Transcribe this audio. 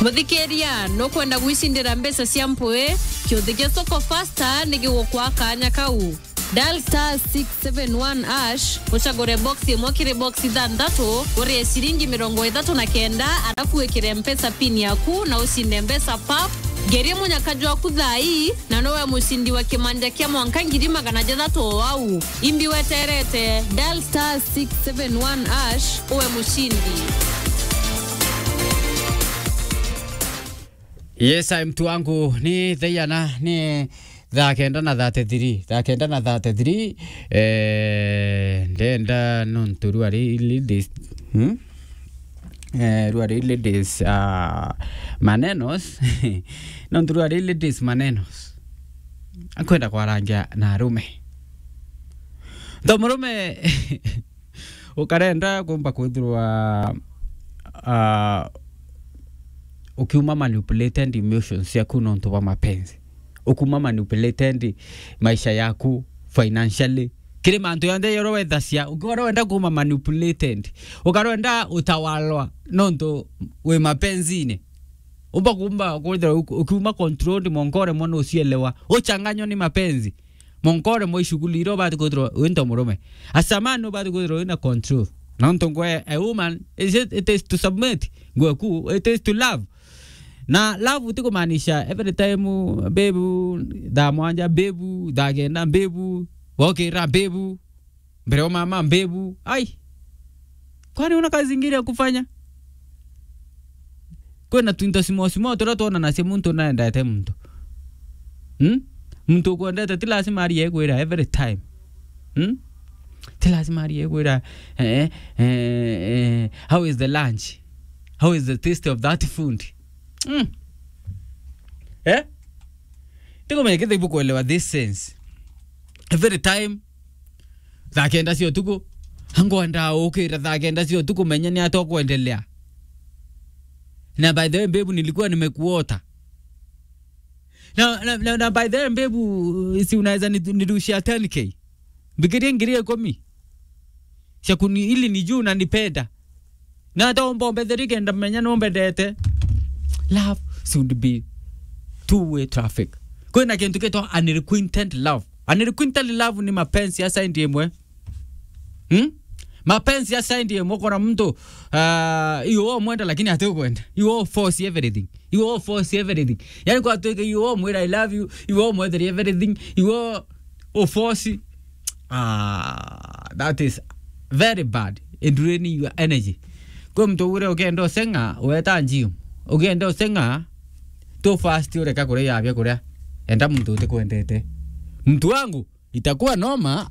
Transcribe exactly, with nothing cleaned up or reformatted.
Muthikiria, nukwenda gwicindira mbeca cia mpui? Kiuthi gia Soko Fasta ni gigukwa kanya kau. Dial star six seven one hash, ucagure box imwe kiri box ithanthatu, urie ciringi mirongo ithatu na kenda, arafu wikire Mpesa pin yaku na ucinde mbeca pap. Ngerie munyaka jwaku thaa ii, na nowe mucindi wa kimanja kia mwanka ngiri magana jathatu o au. Imbi weterete, dial star six seven one hash, uwe mucindi. Yes, I, mtu wangu, ni theiana, ni thaa kenda na thirty-three. Thaa kenda na thirty-three, eh, ndenda nontu rwari ladies, hmm? Eh, rwari ladies, ah, manenos. Nontu rwari ladies manenos. Akwenda kwarangia na arume. Ntho murume, ukarenda kumba kwithirwa, ah, ukiuma manipulated emotions ciaku nontu bwa mapenzi. Ukuma manipulated maisha yaku financially. Kiri mantu yonthe yoro wethacia, ukiwa wenda kuma manipulated. Ukarenda utawalwa nontu wi mapenzine. Umba kumba kwithirwa uku-, ukiuma controlled, mwanka uremwa nucielewa. Uchanganywa ni mapenzi. Mwanka uremwa ishughuli iria ubati kwithirwa wi nto murume. As a man, ubati kwithirwa wina control. Nontu ngwe, a woman, is it, it is to submit. Ngwe ku, it is to love. Na love ti kumaanisha every time, babe, thaa mwanja, babe, thaa kenda, babe, wokira, babe, mbere wa mama, babe. Ai. Kwani una kazi ingine ya kufanya? Kwina twinto small small turia twonanagia muntu naendete muntu. Hmm? Muntu ukwendete ti lazima arie kwira every time. Hmm? Ti lazima arie kwira, eh, eh, eh, "How is the lunch? How is the taste of that food?" Hmm. Eh? Tikumenya kethira ibukuelewa this sense. Every time, thaa kenda cia utuku, ngwenda ukira thaa kenda cia utuku, menya ni atia ukwendelea. Na by the way, babe, nilikuwa nimekuota. Na, na, na, na by the way, babe, si unaweza ni-, nirushia ten K? Mbikirie ngiri ikumi cia kuni-, ili nijue unanipenda. Na hata umba umbethere kenda menya numbendete. Love should be two-way traffic. Kwina kintu gitwa unrequited love. Unrequited love ni mapenzi ya side imwe. Hmm? Mapenzi ya side imwe, ukona muntu, ah, iwe umwenda lakini ati ukwenda. Iwe force everything. Iwe force everything. Yani kwatuika iwe umwira, "I love you." Iwe umwetheria everything. Iwe u force. Ah, that is very bad in draining your energy. Kwi muntu ugure ukienda useng'a, weta gym. Ukienda useng'a, tu fast ureka kuria biakuria. Enda muntu utikwendete. Mtu wangu, itakuwa noma.